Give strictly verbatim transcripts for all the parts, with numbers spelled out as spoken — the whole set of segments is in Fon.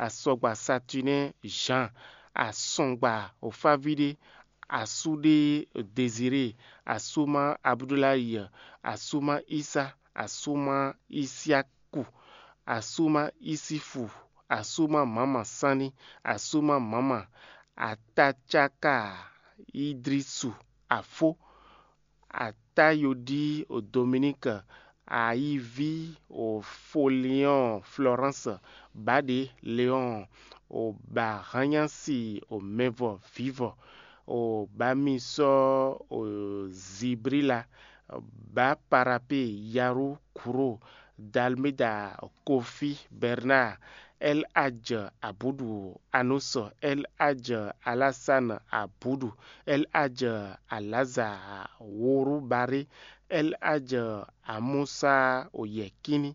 asɔgba Satunɛ́ Zan, asɔgba Ofávíɖé, asúɖé Dezirée, asúma Abudulayi, asúma Isa, asúma Isiaku, asúma Isifu, asúma Mama Sani, asúma Mama Atacaka Idrisu Afó, Atayodi Dominik, Ayiví Foliɔn Florence, Baɖe Leon, Bahanyasi Mɛvɔ Vivɔ, Bamisɔ Zibrila, Baparape Yaru Kuro, Dalmeda Kofi Bernard, El Hadj Abudu Anuso, El Hadj Alassane Abudu, El Hadj Alaza Worubari, El Hadj Amusa Oyekini,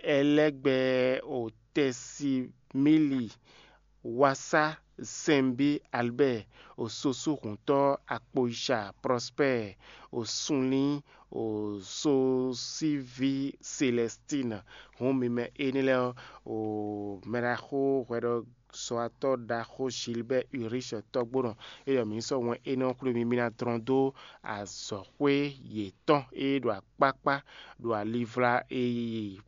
Elɛgbɛ Otɛsimili, Wasa Sɛnbí Albert, Ososu Huntɔ Akpoyica Prosper, Osunlin Ososivi Celestine. Hǔn mi mɛ énɛ́ lɛ́ɛ ɔ́, o mɛɖaxó hwɛɖɔzɔ́watɔ́ ɖaxó Gilbert Ulrich tɔ́gbónɔ, é ɖɔ mǐ ní sɔ́ wɛn énɛ́ ɔ́ xwlé mi, mi ná dlɔ́n dó azɔ̌xwé yětɔn e ɖo akpákpá ɖo alivla e yi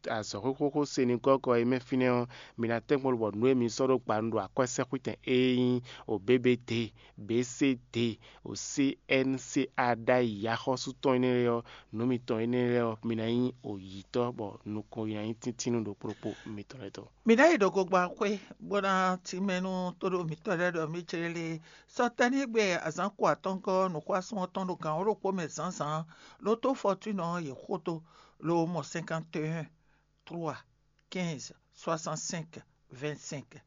azɔ̌xwé xóxó Senegɔ́gɔ́ é mɛ fínɛ́ ɔ́, mi ná tɛ́nkpɔ́n lobɔ nǔ e mi sɔ́ ɖó gba nu ɖo akwɛ́sɛ́xwítɛn e nyí o B B D, B C D, o C N C A ɖ'ayǐ axɔ́sú tɔn énɛ́ lɛ́ɛ ɔ́, nǔ mitɔn énɛ́ lɛ́ɛ ɔ́, mi ná nyí oyǐtɔ́ bɔ nukɔn yi ná nyí tíntínnú ɖokpó ɖokpó mitɔn lɛ́ɛ tɔn. Mi ná yi ɖo gogban xwé, bó ná tínmɛ nú tóɖó mǐtɔn lɛ́ɛ ɖɔ mǐ clé lé. Sɔ tɛ́nnígbe azǎn ko atɔ́ngɔ́ nǔxwásún ɔ́ tɔn ɖo gǎn wǒ ɖokpó mɛ zǎnzǎn, ló tó fɔtúnɔ ɔ́ yě xo tó, ló mɔ cinquante et un trois quinze soixante-cinq vingt-cinq.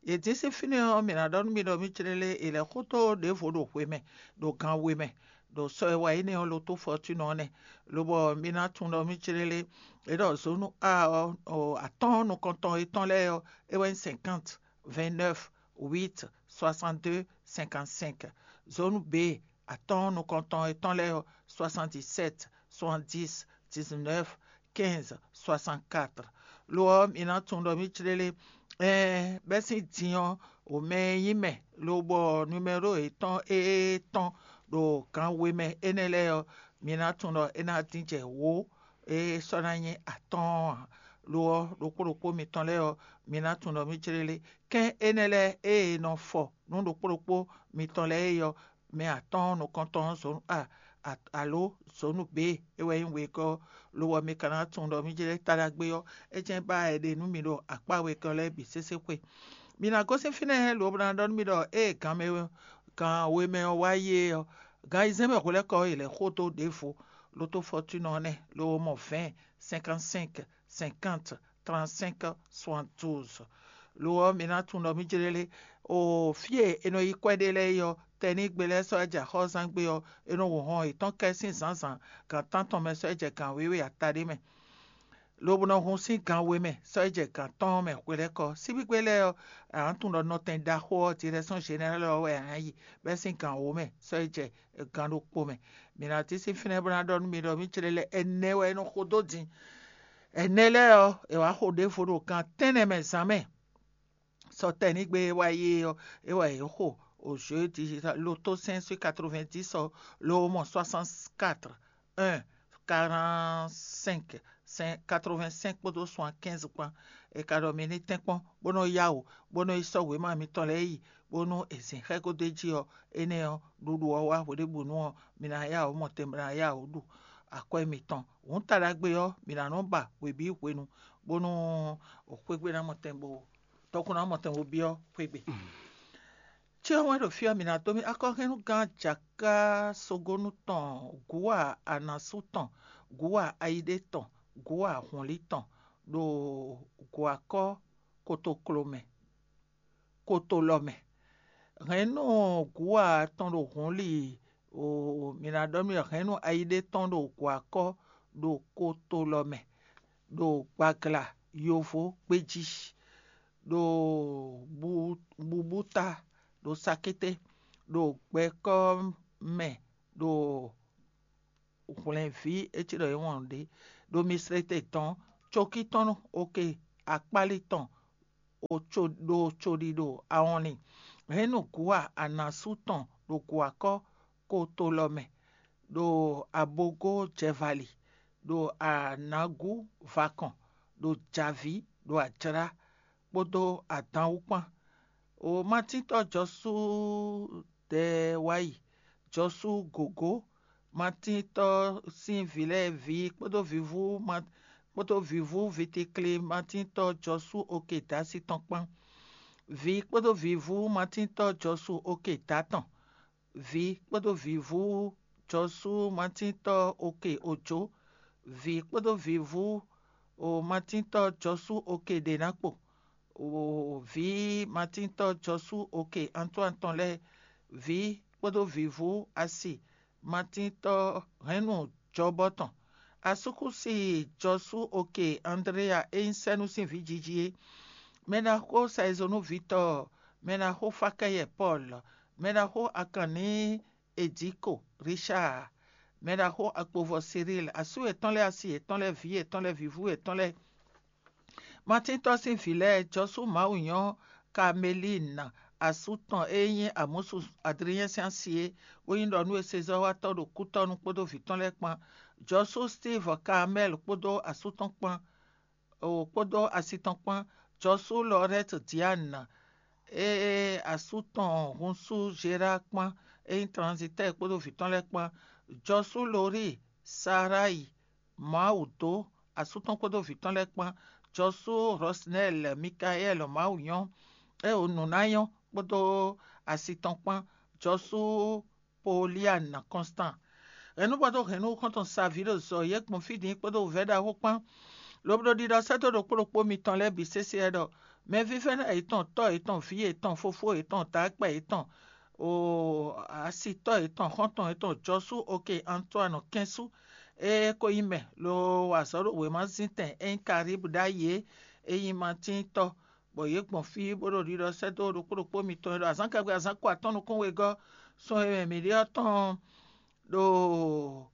Yě dín sín fínɛ́ ɔ́, mǐ ná ɖɔ nú mi ɖɔ mí clélé è lɛ̌ xótó ɖěvo ɖo hwe mɛ, ɖo gan we mɛ, ɖo sɔ e wa énɛ́ ɔ́ ló tó fɔtúnɔ ɔ́ nɛ́, lobɔ mi ná tunwun ɖɔ mí clélé é ɖɔ zǒnu a ɔ́, atɔ́ɔ́n nukɔntɔn yětɔn lɛ́ɛ ɔ́, é wɛ nyí cinquante, vingt-neuf, huit, soixante-deux, cinquante-cinq. Zǒnu B, atɔ́ɔ́n nukɔntɔn yětɔn lɛ́ɛ ɔ́, soixante-dix-sept, soixante-dix, dix-neuf, quinze, soixante-quatre. Lo ɔ́, mi ná tunwun ɖɔ mí clélé ɛɛ bɛ́ sín din ɔ́, wǒ mɛ e nyí mɛ, lobɔ numɛ́ro yětɔn e tɔn ɖo gan we mɛ énɛ́ lɛ́ɛ ɔ́, mi ná tunwun ɖɔ é ná dín jɛ wǒ e sɔ́ ná nyí atɔ́ɔ́n ǎ. Lo ɔ́, ɖokpó ɖokpó mitɔn lɛ́ɛ ɔ́, mi ná tunwun ɖɔ mí clélé kɛ́n énɛ́ lɛ́ɛ e è nɔ fɔ nú ɖokpó ɖokpó mitɔn lɛ́ɛ é ɔ́, mɛ atɔ́ɔ́n nukɔntɔn ɔ́ zǒ a a- alo zǒnu B, é wɛ nyí wegɔ́, lo ɔ́, mi ka ná tunwun ɖɔ mí jlɛ́ ta ɖagbe ɔ́, é jɛ́n ba wɛ è ɖe nú mi ɖo akpá wegɔ́ lɛ́ɛ bǐ sésé xwe. Mi ná gosín fínɛ́, lo ɔ́, bó ná ɖɔ nú mi ɖɔ ée gan mɛ gan we mɛ ɔ́ wá yi é ɔ́, gan ayizɛ́n mɛ hwelɛ́kɔ ɔ́, è lɛ̌ xo dó ɖěvo, ló tó fɔtúnɔ ɔ́ nɛ́, lo ɔ́ mɔ vɛ̌ɛn, cinquante-cinq, cinquante, trente-cinq, soixante-douze. Lo ɔ́, mi ná tunwun ɖɔ mí jlɛ́ lé, o fí e è nɔ yi kwɛ́ ɖe lɛ́ɛ é ɔ́, tɛnígbe lɛ́ɛ sɔ́ jɛ axɔ́zán gbe ɔ́, è nɔ wǒ hɔn yětɔn kɛ sín zǎnzǎn gan tántɔn mɛ sɔ́ jɛ gan wěwe ata ɖé mɛ, lobo nɔ hun sín gan we mɛ sɔ́ jɛ gan tɔn mɛ hwelɛ́kɔ. Síbígbe lɛ́ɛ ɔ́, a nǎ tunwun ɖɔ nɔtɛn ɖaxó ɔ́, Direction Générale ɔ́ wɛ a nǎ yi, bɛ́ sín gan wǒ mɛ sɔ́ jɛ gan ɖokpó mɛ. Mi ná tín sín fínɛ́ bó ná ɖɔ nú mi ɖɔ mí clé lɛ́ɛ ɛnɛ wɛ é nɔ xo dó din. Ɛnɛ lɛ́ɛ ɔ́, è wǎ xo ɖěvo ɖo gan tɛ́nnɛ mɛ zǎn mɛ. Sɔ tɛnígbe e wá yi é ɔ́, é wɛ yě xo o jeudi loto cinq sur quatre-vingt-dix ɔ́, ló mɔ soixante-quatre, un, quarante-cinq, cinq, quatre-vingt-cinq kpódó soixante-quinze kpán. È ka ɖɔ mi ní tɛ́nkpɔ́n bó nɔ́ yá wǔ, bó nɔ́ yi sɔ́ wěma mitɔn lɛ́ɛ yi, bónú è zǐn xɛ́gódó jí ɔ́, énɛ́ ɔ́, ɖuɖu ɔ́ wá hweɖěbǔnu ɔ́, mi ná yá wǔ mɔ tɛn, mi ná yá wǔ ɖu akwɛ́ mitɔn. Hǔn ta ɖagbe ɔ́, mi ná nɔ́ ba hwebǐ hwenu, bónú xwégbé ná mɔ tɛn bo tɔkun ná mɔ tɛn bo byɔ́ xwégbé. Cyɔ wɛn ɖo fí ɔ́, mǐ ná dó mì akɔhɛnnugán jaká sogónu tɔn, gǔwa anasú tɔn, gǔwa ayidé tɔn, gǔwa hɔnlí tɔn, ɖo gǔwakɔ́ kotoklo mɛ, kotolɔ mɛ. Hɛ̌nnu gǔwa tɔn ɖo hɔnlí, o mǐ ná ɖɔ nú hɛ̌nnu ayidé tɔn ɖo gǔwakɔ́ ɖo kotolɔ mɛ, ɖo gbagla yovo gbéjí, ɖo bubúta, ɖo sakété, ɖo gbɛkɔ́ mɛ, ɖo hwlɛ̌nví, é cí ɖɔ é wɔn ɖě, ɖo mislete tɔn, cokí tɔn, oke, akpáli tɔn, ɖo coɖiɖo awɔnlin. Hɛn nú gǔ anasú tɔn ɖo gǔ akɔ́ ko to lɔ mɛ, ɖo abogó jɛvali, ɖo anǎgú vakɔn, ɖo jǎví, ɖo ajlá, kpódó adǎn wú kpán. O matíntɔ́ Jɔsú Dɛwayi, Jɔsú Gǒgó, matíntɔ́ sín vǐ lɛ́ɛ ví kpódó vǐvú kpódó vǐvú vitikli matíntɔ́ Jɔsú oke dǎsi tɔn kpán. Vǐ kpódó vǐvú matíntɔ́ Jɔsú oke dǎ tɔn. Vǐ kpódó vǐvú Jɔsú matíntɔ́ oke ojǒ. Vǐ kpódó vǐvú matíntɔ́ Jɔsú oke ɖě ná kpo. Vǐ matíntɔ́ Jɔsú oke Antoine tɔn lɛ́ɛ, vǐ kpódó vǐvú asi matíntɔ́ hɛ̌nnu jɔbɔ tɔn. Asúkúsi Jɔsú oke Andrea e nyí sɛ́nú sín vǐ jiji é. Mɛɖaxó Saizonúvítɔ́, mɛɖaxó Fakɛyɛ Pɔ́l, mɛɖaxó Akanní Ediko Richard, mɛɖaxó Akpovɔ Cyril, asú yětɔn lɛ́ɛ, asi yětɔn lɛ́ɛ, vǐ yětɔn lɛ́ɛ, vǐvú yětɔn lɛ́ɛ. Matíntɔ́ sín vǐ lɛ́ɛ, Jɔsú Mawu nyɔ́ Kamelín, asú tɔn e nyí Amɔ́su Adriɛ́n sín asi é, bó nyí ɖɔ nú e sezɔ́watɔ́ ɖo kútɔ́nu kpódó vǐ tɔn lɛ́ɛ kpán. Jɔsú Stív Kamɛ́l kpódó asú tɔn kpán, o kpódó asi tɔn kpán. Jɔsú Lɔrɛ́t Dián, e asú tɔn hunsú Zerá kpán, e nyí tranzitɛ́ɛ kpódó vǐ tɔn lɛ́ɛ kpán. Jɔsú Lorí Saráyi, Mawu dó asú tɔn kpódó vǐ tɔn lɛ́ɛ kpán. Jɔsú Rɔsnɛ́l Mikaɛ́l, Mawu nyɔ́, e o nǔ ná nyɔ́ kpódó asi tɔn kpán. Jɔsú Polian Kɔnstan. Hɛ̌nnu kpódó hɛ̌nnu xɔ́ntɔn saví ɖo zɔ yě gbɔn fí din kpódó wǔvɛ́ ɖaxó kpán, lobo ɖo ɖiɖɔ sɛ́ dó ɖokpó ɖokpó mitɔn lɛ́ɛ bǐ sésé wɛ ɖɔ mɛvívɛ́ná yětɔn, tɔ́ yětɔn, vǐ yětɔn, fofó yětɔn, dǎkpɛ yětɔn, o asitɔ́ yětɔn, xɔ́ntɔn yětɔn, Jɔsú oke Antoine kɛ́nsú, e ko nyí mɛ lo wa azɔ̌ ɖo wěmazíntɛn e nyí Kalíbu ɖ'ayǐ é, e nyí Matín tɔ́, bɔ yě gbɔn fí bó ɖo ɖiɖɔ sɛ́ dó ɖokpó ɖokpó mitɔn e ɖo azǎn gagbe azǎn ko atɔ́ɔ́n nukún wegɔ́ sun e mɛ mǐ ɖe ɔ́ tɔn ɖo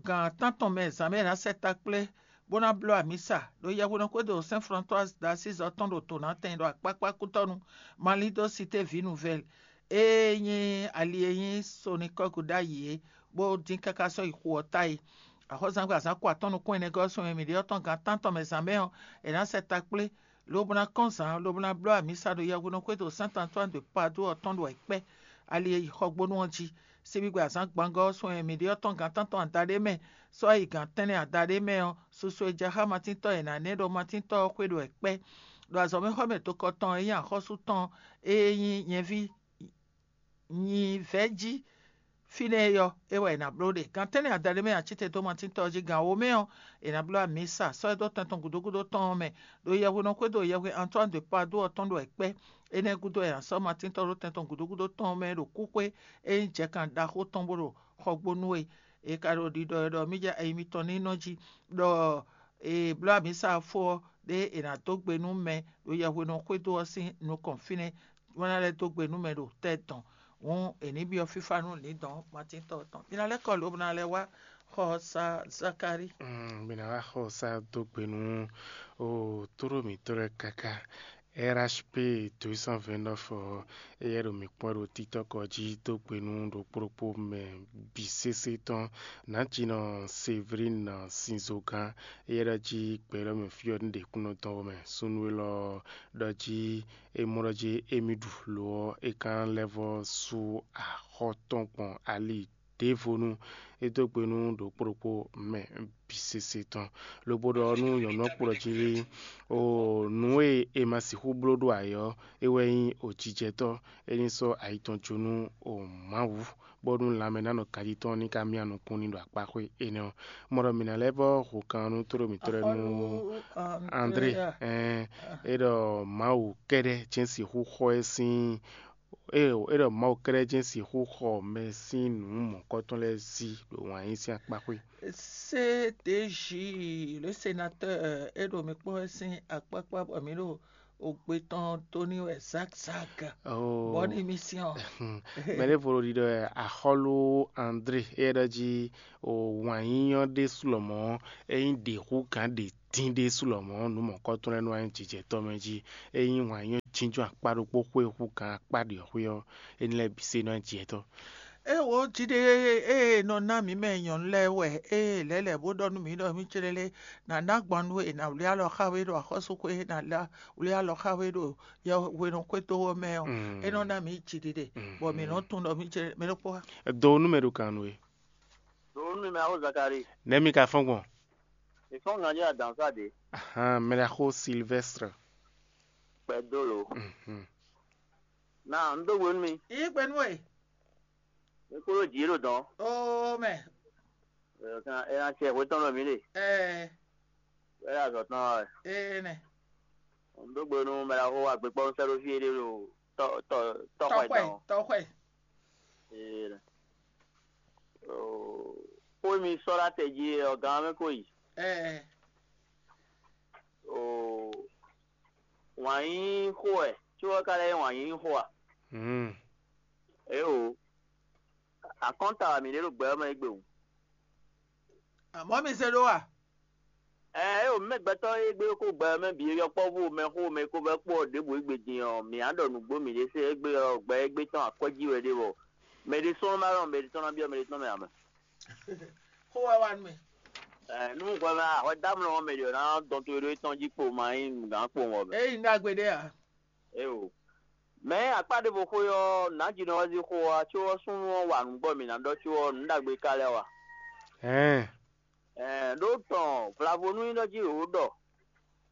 gan tántɔn mɛ zǎn mɛ ná sɛ ta kplé, bó ná bló amǐsa ɖo yɛhweɖɔxwédo Sɛ́n Flantwáz d'Asíz ɔ́ tɔn ɖo Donatɛn ɖo akpákpá kútɔ́nu, Malín dó Sité Vǐ Nuvɛ́l, e nyí ali e nyí Sonikɔ́gu ɖ'ayǐ é, bó dín káká sɔ́ yi xu ɔ́ ta é. Axɔ́zangbe azǎn ko atɔ́ɔ́n nukún ɛnɛ gɔ́ sun e mǐ ɖe ɔ́ tɔn gan tántɔn mɛ zǎn mɛ ɔ́, è nǎ sɛ ta kplé, lobo ná kɔn zǎn, lobo ná bló amǐsa ɖo yɛhweɖɔxwédo Sɛ́n Antwáni de Padú ɔ́ tɔn ɖo ayǐkpɛ́, ali e yi xɔgbónú ɔ́ jí. Sigbigbe azǎn gbangɔ́ ɔ́ sun e mǐ ɖe ɔ́ tɔn gan tántɔn adaɖé mɛ, sɔ́ yi gan tɛ́nnɛ adaɖé mɛ ɔ́, susu e jɛ xá matíntɔ́ e nǎ nɛ́ ɖɔ matíntɔ́ ɔ́ xwé ɖo ayǐkpɛ́, ɖo azɔ̌mɛxɔ́mɛ tokɔ tɔn e nyí axɔ́sú tɔn e nyí nyɛví nyi vɛ̌ jí. Fínɛ́ é ɔ́, é wɛ è nǎ bló ɖe. Gan tɛ́nnɛ adaɖé mɛ acíte dó matíntɔ́ ɔ́ jí, gan wǒ mɛ ɔ́, è nǎ bló amǐsa, sɔ́ ɛ dó tɛn tɔn gǔdo gúdo tɔn ɔ́ mɛ, ɖo yɛhweɖɔxwédo yɛhwe Antoine de Padú ɔ́ tɔn ɖo ayǐkpɛ́. Énɛ́ gúdo è nǎ sɔ́ matíntɔ́ ɖó tɛn tɔn gǔdo gúdo tɔn ɔ́ mɛ ɖo kúxwé e nyí jɛkan ɖaxó tɔn bó ɖo xɔgbónú é. È ka ɖo ɖiɖɔ ɛ ɖɔ mí jɛ ayi mitɔn ní nɔ jí, ɖɔ è bló amǐsa fó ɔ́, ɖé è nǎ dó gbe nú mɛ ɖo yɛhweɖɔxwédo ɔ́ sín nukɔn fínɛ́, bó ná lɛ́ dó gbe nú mɛ ɖo tɛ́ dɔn. Hǔn è nǐ byɔ́ fífá nú lǐndɔ̌n matíntɔ́ tɔn. Mi ná lɛ́ kɔ lǒ bó ná lɛ́ wá xɔ sa Zakalíi. Mm, mi ná wá xɔ sa dó gbe nú o tóɖó mǐtɔn lɛ́ɛ káká. R H P deux cent vingt-neuf ɔ́, éyɛ́ ɖo mǐ kpɔ́n ɖo títɔ́kɔ jí dó gbe nú ɖokpó ɖokpó mɛ bǐ sésé tɔn. Nǎjínɔ Séverine Sinzogán, éyɛ́ ɖɔ jí gbɛ̌ élɔ́ mɛ fí ɔ́ ní ɖe kúnnu tɔn mɛ. Súnnu élɔ́ ɖɔ jí é mɔ ɖɔ jí émí ɖu lo ɔ́, é ka lɛ́ vɔ́ sú axɔ́ tɔn gbɔn ali ɖěvo nú é dó gbe nú ɖokpó ɖokpó mɛ bǐ sésé tɔn. Lobo ɖɔ nú nyɔ̌nu ɔ́ kplɔ́ jí, o nǔ e è ma sixú bló ɖó ayǐ ɔ́, é wɛ nyí o jijɛtɔ́, é ní sɔ́ ayi tɔn jó nú o Mawu, bónú lanmɛ ná nɔ ganjí tɔn ní ka myá nukún ní ɖo akpáxwé énɛ́ ɔ́. Mɔ ɖɔ mǐ ná lɛ́ vɔ́ hǔnkan nú tlóló mǐtɔn lɛ́ɛ nú André, ɛn é ɖɔ Mawu kɛ́ɖɛ́ jɛ́n sixú xɔ ɛ sín é ɖɔ é ɖɔ Mawu kɛ́ɖɛ́ jɛ́n sixú xɔ mɛ sín nǔ mɔ̌kɔtɔn lɛ́ɛ sí ɖo wǎn yí sín akpáxwé. Cédéji, le sénatɔ́, é ɖo mi kpɔ́n wɛ sín akpákpá bɔ mǐ ɖo ogbe tɔn dó ní wɛ zǎkzǎk. Oh. Bɔ ní mi syɔ́n. Mɛ ɖěvo ɖo ɖiɖɔ wɛ axɔ́lú André, éyɛ́ ɖɔ jí o wǎn yíyɔ́ ɖésú lɔmɔ̌ é nyí ɖě hú gǎn ɖě dín ɖésú lɔmɔ̌ nǔ mɔ̌kɔ́tɔn lɛ́ɛ nɔ wá nyí jijɛtɔ́ mɛ jí. Ényí wǎn nyí jínjɔ́n akpá ɖokpó xwé hú gǎn akpá ɖě ɔ́ xwé ɔ́, é ní lɛ́ bǐ se nɔ nyí jijɛtɔ́. É wǒ jí ɖé e nɔ ná mǐ mɛ nyɔ̌nu lɛ́ɛ wɛ ée lɛ̌lɛ̌ bó ɖɔ nú mǐ ɖɔ mǐ clélé nǎ ná gbɔn nú we, è nǎ wlí alɔ xá we ɖo axɔ́súxwé, è nǎ lá wlí alɔ xá we ɖo yɛhwenuxwétɔ́ ɔ́ mɛ ɔ́, é nɔ ná mǐ jiɖiɖe, bɔ mǐ nɔ tunwun ɖɔ mǐ clélé mɛ ɖokpó wá. Do nú mɛ ɖo kan nú we. Ɖo nú mɛ awo Zakari. Nɛ̌ mi ka fɔ́n gbɔn? Mǐ fɔ́n ganjí adǎnsá ɖě. Ahan, mɛ ɖaxó Silvɛ́stre. Kpɛdó lo. Mhm. Na un dó gbe nú mi. Yí gbe nú we. Mi kúrò jǐ ɖo dɔn. Oo mɛ. Ɛ ná cɛ hwetɔ́n ɖo mǐ ɖe. Ɛɛ. Wɛ ɖo azɔ̌ tɔn wɛ. Ee nɛ. Un dó gbe nú mɛ ɖaxó agbekpɔ́nú sɛ́ ɖó fí éɖée ɖo tɔ́ tɔ́ tɔ́xɔ ɛ Tɔxɔɛ, dɔn. Tɔxɔɛ. Ee nɛ. Oo, xó e mi sɔ́ ɖó atɛ jí é ɔ́, gán ɔ́ mɛ ko yi. Ɛɛ. Oo, wǎn yíyí xó wɛ, có ɔ́ ka lɛ́ nyí wǎn yíyí xó a? Hmm. Éeǒ, akɔ́nta wɛ mǐ ɖe ɖo gbɛ ɔ́ mɛ égbé hǔn. Amɔ̌ mi se ɖó a? Ɛɛ, éeǒ, mɛ gbɛtɔ́ e gbé kó gbɛ ɔ́ mɛ bǐ, yɔkpɔ́vú mɛxó mɛ e ko vɛ́ kpó ɔ́ ɖěbǔ égbé din ɔ́, mǐ á ɖɔ nǔgbó mǐɖée se égbé ɔ́, gbɛ égbé tɔn akwɛ́ jí wɛ ɖe bɔ mɛ ɖé sɔ́ nɔ ma ɖɔ mɛ ɖé tɔn ná byɔ́ mɛ ɖé tɔn mɛ ǎ mɛ. Xó wɛ wá nú mɛ. Ɛɛ, nú hwɛ mɛ ahwɛ dó amlɔ ɔ́ mɛ ɖě ɔ́ ná dɔn to e ɖó é tɔn jí kpo ma nyí nǔgán kpowun ɔ́ mɛ. Ényí ɖagbe ɖé ǎ. Éeǒ. Mɛ̌ akpá ɖěvo xwé ɔ́, nǎjínɔ wɛ zí xó ɔ́, có ɔ́ súnnu ɔ́ wa nǔ bɔ mǐ ná ɖɔ, có ɔ́, nǔ ɖagbe ka lɛ́ wa. Ɛ̌n. Ɛ̌n, ɖó tɔn vlavo nú nyí ɖɔ jí wǒ ɖɔ,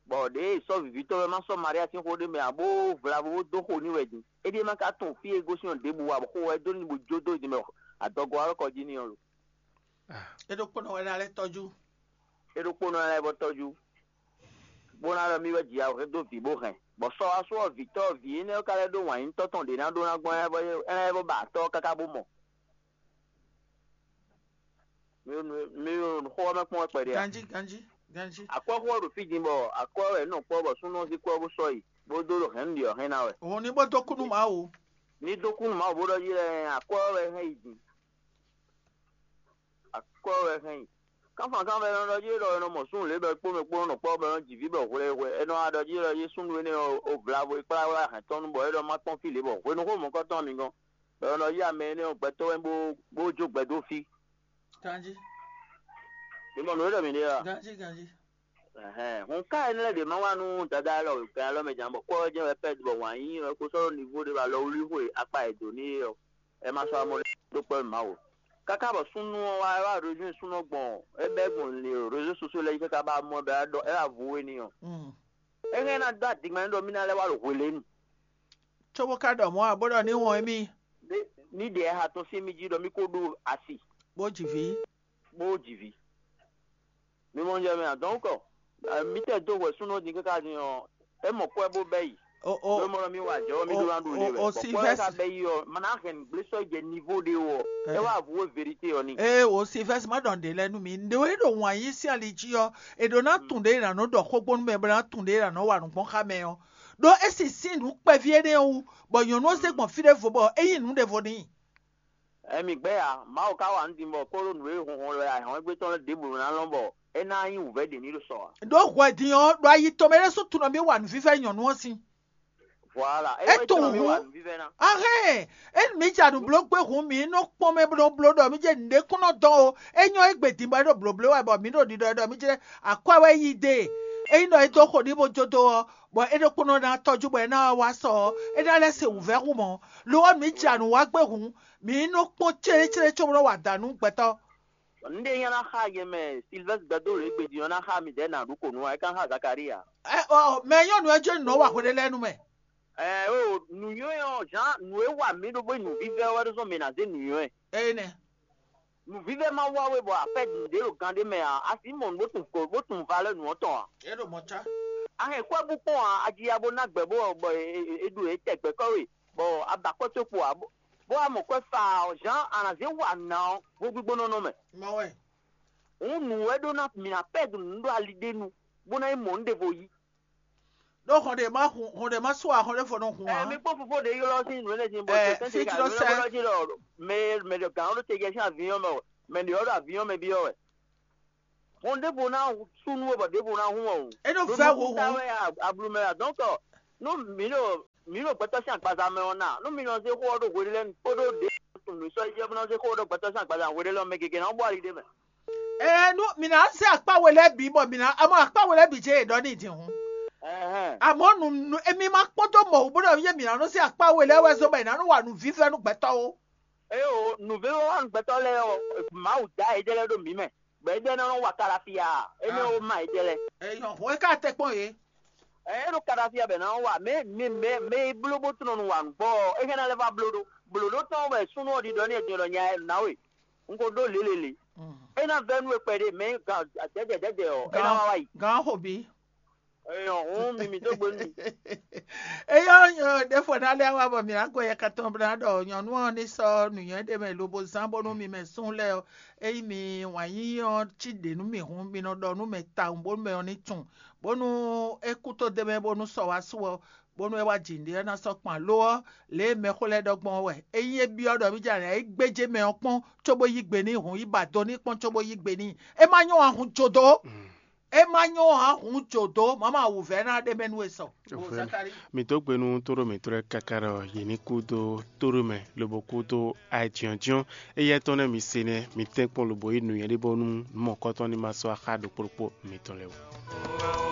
bɔ ɖěe è sɔ́ vǐvítɔ́ wɛ ma sɔ́ Maria sín xó ɖé mɛ ǎ, bó vlavo bó dó xo n'i wɛ din. É ɖíe ma ka tunwun fí e gosín ɔ́ ɖěbǔ ǎ, bɔ xó wɛ dó n'i bó jó dó din mɛ adɔgo ɔ́ kɔ jí n'i ɔ́ lo. É ɖokpónɔ wɛ ná lɛ́ tɔ́jú. É ɖokpónɔ lɛ́ɛ bɔ tɔ́jú, bó ná ɖɔ mì wɛ jǐ ahwɛ dó vǐ bó hɛn, bɔ sɔ wá sú ɔ́, vǐtɔ́ vǐ énɛ́ ɔ́ ka lɛ́ ɖó wǎn nyí tɔ́ tɔn ɖě ná ɖó ná gbɔn, é ná lɛ́ vɔ ba atɔ́ ɔ́ káká bó mɔ. Mi ɖo nǔ- mi ɖo xó ɔ́ mɛ kpɔ́n wɛ kpɛɖé a? Ganjí, ganjí, ganjí. Akwɛ́xó ɔ́ ɖo fí din bɔ akwɛ́ wɛ é nɔ kpɔ́ bɔ súnnu ɔ́ zí kwɛ́ bó sɔ́ yi, bó dó ɖo hɛ̌nnu ɖě ɔ́ hɛn ná wɛ. Òun ní bó dó kú nú Mawu. Ní dó kú nú Mawu bó ɖɔ jí lɛ́ɛ akwɛ́ wɛ hɛn yi din. Akwɛ́ wɛ hɛn yi. Kánfán kánfán nɔ ɖɔ jí ɖɔ è nɔ mɔ súnnu lě bɔ é kpó mɛ kpó nɔ kpɔ́ bɔ é nɔ ji vǐ bɔ hwlɛhwlɛ. È nɔ ɖɔ jí ɖɔ yé súnnu énɛ́ ɔ́, ó vlavo é kplá wá hɛn tɔn nú bɔ é ɖɔ má kpɔ́n fí lě bɔ hwenu xó mɔ̌kɔtɔn mi gɔ́n. Bɔ è nɔ ɖɔ jí amɛ énɛ́ ɔ́ gbɛtɔ́ wɛ bó bó jó gbɛ dó fí. Ganjí. Mi mɔ nǔ e ɖɔ mǐ ɖe a? Ganjí, ganjí. Ɛhɛn, hun ká énɛ́ lɛ́ɛ ɖě ma wá nú Dadá élɔ́ wěkan élɔ́ mɛ jǎn bɔ kpɔ́ ɔ́ jɛ́n wɛ pɛ́ bɔ wǎn yíyí ɔ́ kó sɔ́ ɖó nivo ɖé wá lɔ wlí xwe akpa e dǒ n'i é ɔ́, é ma sɔ́ amɔ́ ɖó kpɛ́ Mawu. Káká bɔ súnnu ɔ́ wá, é wá rézú súnnu ɔ́ gbɔn, é bɛ́ gbɔn réseaux sociaux lɛ́ɛ jí káká bá mɔ ɛ bɔ é ɖɔ é wá vo we n'i ɔ́, é hɛn ná dó adigbɛn ɖɔ mì ná lɛ́ wá ɖo hwelɛ́nu. Cóbó ka ɖɔ mɔ̌ ǎ, bó ɖɔ ní wɔn émí. Ní ɖě ha tɔn sín mì jí ɖɔ mì ko ɖó asi, bó ji vǐ. Bó ji vǐ. Mi mɔ jɛ mɛ adɔn kɔ. Mítɛ dó hwɛ súnnu din káká din ɔ́, é mɔ kwɛ́ bó bɛ́ yi. O o Ló mɔ ɖɔ mì wa jɛ ɔ́, mì ɖó ná ɖu ɖe wɛ. O Bɔ kwɛ́ ka Silvɛ́stre. Bɛ́ yi ɔ́, ma ná hɛn nǔgblé sɔ́ yi jɛ nivo ɖé wɔ. É wá avu wé verité ɔ́ ní. Ee, o Silvɛ́stre, má ɖɔ nǔɖé lɛ́ɛ nú mi. Nǔɖé wɛ ɖo wǎn yí sín ali jí ɔ́, è ɖǒ ná tunwun ɖě è nǎ nɔ ɖɔ xó gbɔn nú mɛ, bó ná tunwun ɖě è nǎ nɔ wa nǔ gbɔn xá mɛ ɔ́. Ɖó é sixú sin nǔ kpɛví énɛ́ wú, bɔ nyɔ̌nu ɔ́ zé gbɔn fí ɖěvo bɔ é yí nǔ ɖěvo n'i. Ɛ mi gbɛ́ ya, Mawu ka wa nǔ din bɔ kpódó nǔ e hunhun wɛ ahɔ̌ngbétɔn lɛ́ɛ ɖěbǔ ná lɔn bɔ é ná nyí wǔvɛ́ ɖě ní ɖo sɔ ǎ. Ɖó hwɛ din ɔ́, ɖo ayi tɔn mɛ ɖésú tunɔ mì wa nǔvívɛ́ nyɔ̌nu ɔ́ sín. Voilà, é É wɛ tunwun tunɔ mì wa hǔn. Nǔvívɛ́ ná. Ahɛn, é mi ja nǔ bló gbé hǔn, mǐ nɔ kpɔn mɛ bló bló ɖɔ mì jɛ nǔɖé kún nɔ dɔn o. É nyɔ́ égbé din bɔ é ɖo blǒbló wɛ bɔ mǐ ɖo ɖiɖɔ ɖɔ mì jɛ akwɛ́ wɛ yí dé. Ényí ɖɔ é dó xo ní bó jó dó ɔ́, bɔ é ɖokpónɔ ná tɔ́jú bɔ é ná wá sɔ ɔ́, é ná lɛ́ se wǔvɛ́ hú mɔ̌. Lo ɔ́, mǐ ja nǔ wa gbé hǔn, mǐ nɔ kpɔ́n célécélé cóbó nɔ wa dǎ nú gbɛtɔ́. Nǔɖé nyí ná xa yɛ mɛ Silvɛ́stre gbɛdó lě gbe din ɔ́ ná xa midɛɛ nǎ ɖu kǒ nú ɛ ká xa Zakaria. Ɛ ɔ, mɛ nyɔ́nu ɛ jɛ́n nǔ nɔ wa hweɖé lɛ́ɛ nú mɛ. Ɛ o nǔnywɛ́ ɔ́ Jean nǔ e wa mǐ ɖó bó nyí nǔvívɛ́ wɛ ɖó zɔn mǐ ná zé nǔnywɛ́. Eye nɛ. Nǔvívɛ́ ma wa we bɔ afɛ ɖě ɖo gan ɖé mɛ ǎ, a sǐ mɔ nǔ bó tunwun ko bó tunwun valeur nǔ ɔ́ tɔn ǎ. E ɖo mɔ̌ cá. A hɛn kwɛ́ bú kpɔ́n ǎ, a ji ya bó ná gbɛ̌ bó bɔ è ɖu yě tɛgbɛ kɔ́ we, bɔ a ba kɔ́ tó kpo ǎ, bó wá mɔ kwɛ́ fa ɔ́, Jean a nǎ zé wa nǎ ɔ́ hwegbígbónɔ́ mɛ. Mɔ wɛ. Hǔn nǔ wɛ ɖó ná mǐ ná pɛ́ nǔ ɖo ali ɖé nu, bó ná yi mɔ nǔ ɖěvo yí. Ɖó hɔn ɖe má hun hɔn ɖe má sú ahɔn ɖé fɔ nɔ hun Ɛ ǎ. Mi kpɔ́n fofó ɖě ylɔ́ sín nǔ énɛ́ sín bɔ Ɛ, tɛ́ntin fí ká jí lɔ nǔ sɛ́. Énɛ́ jí ɖɔ mɛ mɛ ɖɔ gǎn ɖó te jɛ sín avinyɔ́ mɛ wɛ, mɛ ɖě ɔ́ ɖo avinyɔ́ mɛ byɔ́ wɛ. Hɔn ɖěvo ná sú nú we bɔ ɖěvo ná hun ɔ. É nɔ vɛ́ hǔhú. Wɛ ablu mɛ wɛ. Donc nú mǐ ɖo mǐ ɖo gbɛtɔ́ sín agbaza mɛ ɔ́ ná, nú mi nɔ zé xó ɔ́ ɖo hweɖé lɛ́ɛ kpódó ɖě nǔ sɔ́ yi jɛ bó nɔ zé xó ɔ́ ɖo gbɛtɔ́ sín agbaza hweɖé lɛ́ɛ mɛ gěgé ná bɔ ali ɖé mɛ. Ɛ nú mǐ ná zé akpá we lɛ́ɛ bǐ bɔ mǐ ná amɔ akpá we lɛ́ɛ bǐ jɛ yě ɖɔ n'i din hǔn. Ɛhɛn. Àmọ́ nǔ nǔ- émí má kpɔ́n dó mɔ̌ wú bó ɖɔ yé mǐ ná nɔ zé akpá we lɛ́ɛ wɛ zɔ́n bɔ è nǎ nɔ wa nǔvívɛ́ nú gbɛtɔ́ ó. Eye o nǔvɛ́ wa gbɛtɔ́ lɛ́ɛ ɔ́, Mawu dá yějɛ lɛ́ɛ ɖo mǐ mɛ, bɔ é jɛ ná nɔ wa kalafia énɛ́ ó ma yějɛ lɛ́ɛ. Èèyàn hɔn é ká tɛ kpɔn yě. Ɛ é ɖo kalafia bɛ ná wa mɛ mɛ mɛ mɛ e bló bó tunɔ nú wa nǔgbɔ ɔ́, é hɛn ná lɛ́ va bló ɖó blǒ ɖó tɔn wɛ súnú ɔ́ ɖiɖɔ ní ẹdun ɖɔ nya ɛ ná we. Un ko ɖó lělélě. É ná vɛ́ nú we kpɛɖé mɛ gǎn jɛjɛ jɛjɛ ɔ́ é ná wá wá yi. Gǎn xo bí. Eyɔn hǔn mi mi dó gbe nú mi. Eyɔ́ nyɔ ɖěfo ná lɛ́ wá bɔ mǐ ná gɔ́ yɛ katɔn bó ná ɖɔ nyɔ̌nu ɔ́ ní sɔ́ nǔnywɛ́ ɖé mɛ lobo zán bónú mi mɛ sún lɛ́ɛ ɔ́, ényí mi wǎn yíyí ɔ́ cí ɖě nú mì hǔn, mi nɔ ɖɔ nú mɛ tawun bónú mɛ ɔ́ ní tunwun, bónú é kú tó d'é mɛ bónú sɔ wá su ɔ́, bónú é wá jǐ nǔɖé ɔ́ ná sɔ́ kpan. Lo ɔ́, lě e mɛxó lɛ́ɛ ɖɔ gbɔn ɔ́ wɛ, ényí é byɔ́ ɖɔ mì jɛ nɛ̌ é gbéjé mɛ ɔ́ kpɔ́n cóbó yí gbe n'i hǔn, yi ba do n'i kpɔ́n cóbó yí gbe n'i. É má nyɔ́ ǎ hun jodo. É má nyɔ́ ǎ hun jodo, mama wǔvɛ́ ná ɖe mɛ nú we sɔ. Zakari. Mi dó gbe nú tóɖó mǐtɔn lɛ́ɛ káká ɖɔ yě ní kú dó tóɖó mɛ, lobo kú dó ayɛjyɔ́njyɔ́n. Éyɛ́ tɔn nɛ́ mi se nɛ́, mi tɛ́nkpɔ́n lobo yí nǔnywɛ́ ɖé bónú nǔ mɔ̌kɔ́tɔn ní ma sɔ́ axá ɖokpó ɖokpó mitɔn lɛ́ɛ wú.